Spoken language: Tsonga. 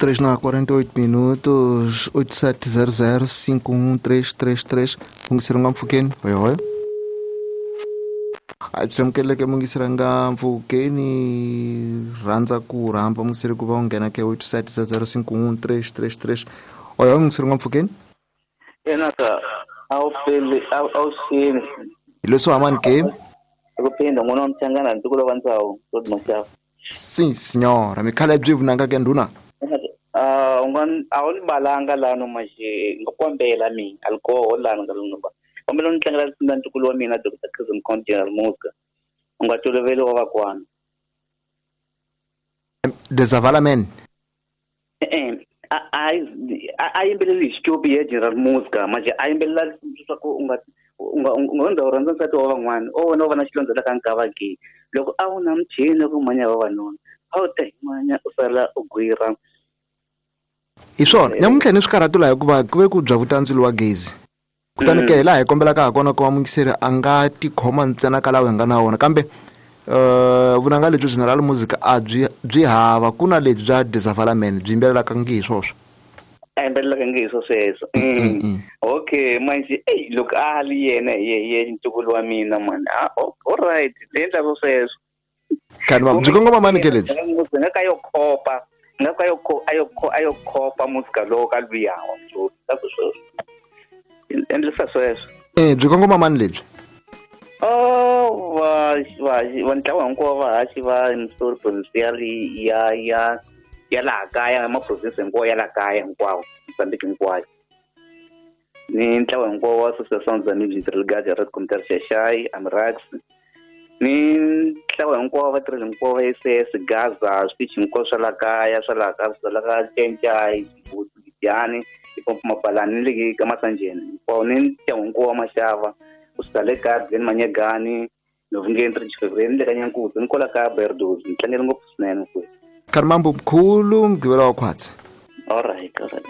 3 na 48 minutos, 8700 51333. Mungiseri nga mpfhukeni, hoyohoyo. A byi amukeleke mungiseri nga mpfhukeni, rhandza ku rhamba mungiseri ku va u nghena ke 8700 51333. Hoyohoyo mungiseri nga mpfhukeni. Enaka a wu peli a wu xini. Hi leswo hamani ke? Ku phinda n'wana wa Mchangana ntukulu wa Ndzawu, Rod Mashava. Sim, senhora. Mikhala byi vunanga ke ndhuna? U nga a wu ni balanga lano manje nga kombela mi alcohol lano nga lano ba. Kombela ni tlangela na ntukulu wa mina Dr. Cousin Count General Muska. U nga toloveli wa vakwana. Dezavala men. A yimbeleli hi xikopi ya General Muska manje a yimbelela leswaku u nga u rhandza nsati wa van'wana o wena u va na xilondza la ka nkava ke loko a wu na muchini ku manya vavanuna a wu ta himanya u sala u gwira. Hi swona nyamuntlha ni swikarhatu laha hikuva ku ve ku bya vutandzilo wa gezi kutani ke hi laha hi kombelaka ha kona ku va mungiseri a nga tikhoma ntsena ka lawa hi nga na wona kambe vunanga lebyi General Music a byi hava ku na lebyi bya Desavalament byi yimbelelaka ngi hi swoswo. A yimbelelaka ngi hi swo sweswo. Okay manje ey loko a li yena hi ntukulu wa mina mani. All right le endla swo sweswo. Kanti byi kongoma mani ke lebyi? Nga ka yo khopa nga ka yo khopa musika lowo ka luya wa sweswo. Endlisa sweswo. Byi kongoma mani lebyi? Oh va ntlawa hinkwawo vahaxi va story provincial ya laha kaya ma province hinkwawo ya laha kaya hinkwawo Mozambique hinkwayo. Ni ntlawa hinkwawo wa Associação dos Amigos Interligados Red Commuter Xaxai Amrax. Ni ntlawa hinkwawo vatirheli hinkwavo va SS Gaza switichi hinkwaswo swa laha kaya swa laha ka swa laha ka Cencai Gidiani Ipompo Mapalani ni le ka Masanjeni hinkwawo ni ntlawa hinkwawo wa Maxava kusuka le ka Glen Manyegani Novungeni 3 ni le ka Nyankuzi ni kwala ka Berdozi ni tlangele ngopfu swinene mfowethu. Kharimambo mkhulu mugqivela wa khwatsi. All right, all right.